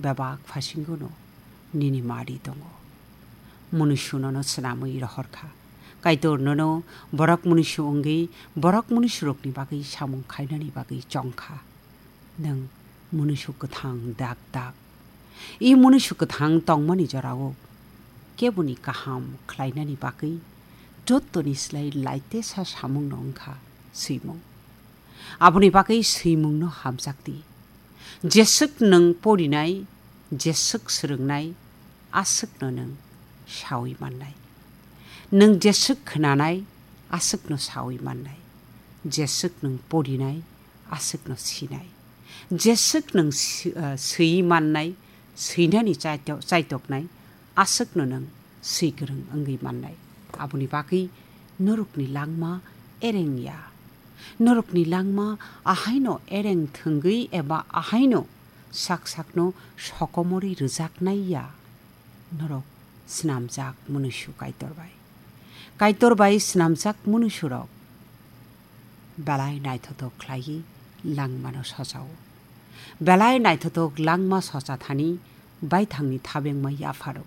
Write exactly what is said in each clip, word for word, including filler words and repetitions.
bebak phasingono nini mari tongo. Munusu nono swnamwi rohor kha. Kaitor nono borok munusu wngwi borok munusurokni bagwi samung khainani bagwi chong kha. Nwng munusu kwthang dak dak. I munusu kwthang tongmani jorao keboni kaham khlainani bagwi jottoni slai laitesa samungno wngkha swimung. Aboni bagwi swimungno hamjakdi. Jeswk nwng porinai, jeswk swrwngnai, aswkno nwng saui mannai. Nwng jeswk khwnanai, aswkno saui mannai. Jeswk nwng porinai, aswkno sinai. Jeswk nwng si-, ah, swi mannai, swinani chaito-, chaitoknai, aswkno nwng swi kwrwng wngwi mannai. Aboni bagwi norokni langma ereng ya. Norokni langma ahaino ereng thwngwi eba ahaino sak sakno sokomorwi rwjaknai ya. Norok snamjak munusu Kaitor bai. Kaitor bai snamjak munusurok belai naithothok khlaiwi langmano sochao. Belai naithothok langma socha thani baithangni thabengma yapharo.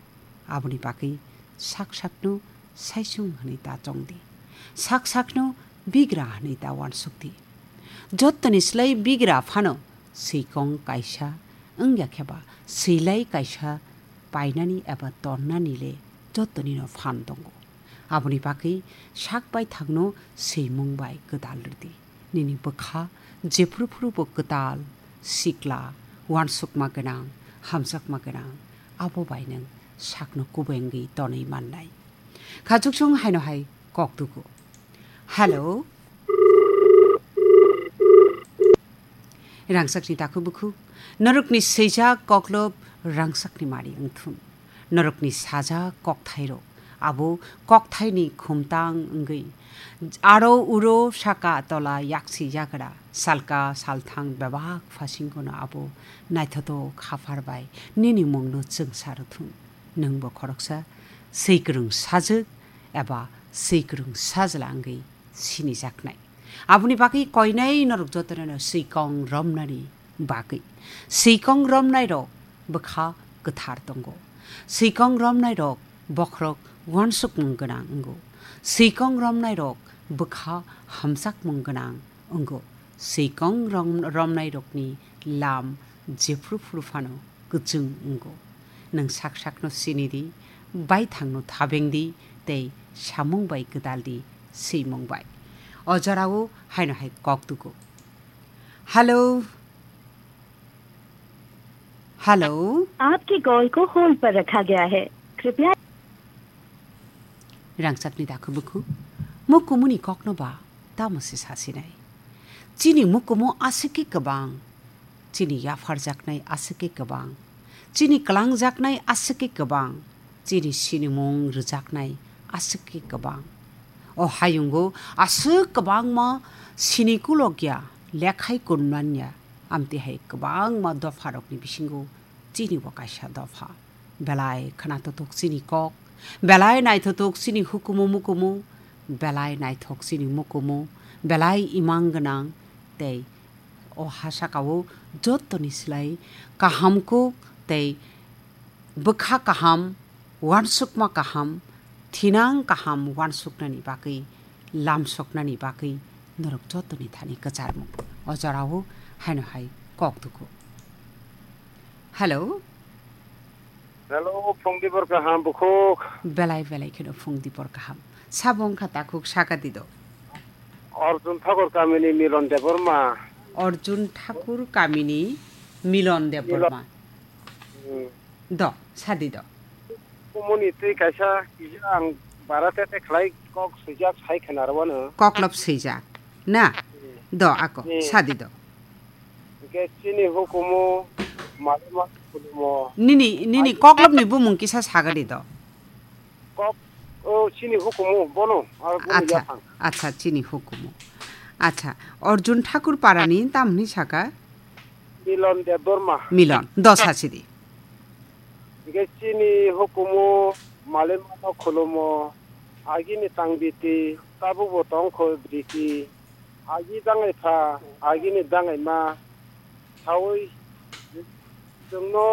Aboni bagwi sak sakno saisung hwnwi ta chongdi. Sak sakno bigra hwnwi ta uansukdi. Jottoni slai bigra phano swikong kaisa wngya kheba swilai kaisa painani eba tonnani le jottoni no phan tongo. Aboni bagwi sak baithangno swimung bai kwtal rwdi. Nini bwkha jephru phru bo kwtal, sikla, uansukma gwnang, hamjakma gwnang, abo bai nwng sakno kubui wngwi tonwi mannai. Kha chuksong haino hai kok tuku. Hello. Rangchakni takhuk bukhuk, norokni swijak koklop rangchakni mari wngthun. Norokni sajak kokthairok, abo kokthaini khumtang wngwi aro uro saka tola yaksi yagra salka salthang bebak phasingono abo naithothok haphar bai nini mungno chwngsa rwthun. Nwngbo khoroksa swikwrwng sajwk eba swikwrwng sajla wngwi sinijaknai. Aboni bagwi koinai norok jotono swikong romnani bagwi. Swikong romnairok bwkha kwthar tongo. Swikong romnairok bokhorok uansukmung gwnang wngo. Swikong romnairok bwkha hamjakmung gwnang wngo. Swikong rom-, romnairokni lam jephru phru phano kwchwng wngo. Nwng sak sakno sini di, baithangno thabeng di, tei samung bai kwtal di, swimung bai. O jorao haino hai kok tugo. Hello. Hello. आपके कॉल को होल्ड पर रखा गया है। कृपया Rangchakni dakhu bukhu, mukumuni kokno ba tamo se sasinai. Chini mukumu aswk khe kwbang. Chini yapharjaknai aswk khe kwbang, chini kwlangjaknai aswk khe kwbang, chini sinimung rwjaknai aswk khe kwbang. O hayungo aswk kwbangma sini kulokya, lekhai kunmanya, amtwi hai kwbangma dopharokni bisingo chini bo kaisa dopha. Belai khwnathothok chini kok, belai naithothok chini hukumu mukumu, belai naithok chini mukumu, belai imang gwnang tei o ha sakao jottoni slai kaham kuk tei bwkha kaham, uansukma kaham, thinang kaham uansuknani bagwi, lamsoknani bagwi norok jottoni thani kwcharmung. O jorao haino hai kok tuku. Hello. Hello, phung dibor kaham bukhuk. Belai belai kheno phung dibor kaham. Sabo wngkha takhuk saka dido. Arjun Thakur kamini Milon Debbarma. Arjun Thakur kamini Milon Debbarma. Hmm. Do, sadi do. Kumuni twi kaisa kisa ang bara tete khlai kok swijak sai khna rwano. Koklop swijak. Na? Hmm. Do, ako, hmm, sadi do. Hingke chini hukumu malima khulumo. Nini, nini koklopni bumung kisa sagadi do. Kok, o, chini hukumu, bono, ar bono acha, yaphang. Acha, chini hukumu. Acha, Arjun Thakur parani tamni saka? Milon Debbarma. Milon, dosa sidi. Hingke chini hukumu malima khulumo, agini tangbiti, tabukbo tongkho briti. Agi dangai pha, agini dangai ma, saui chwngno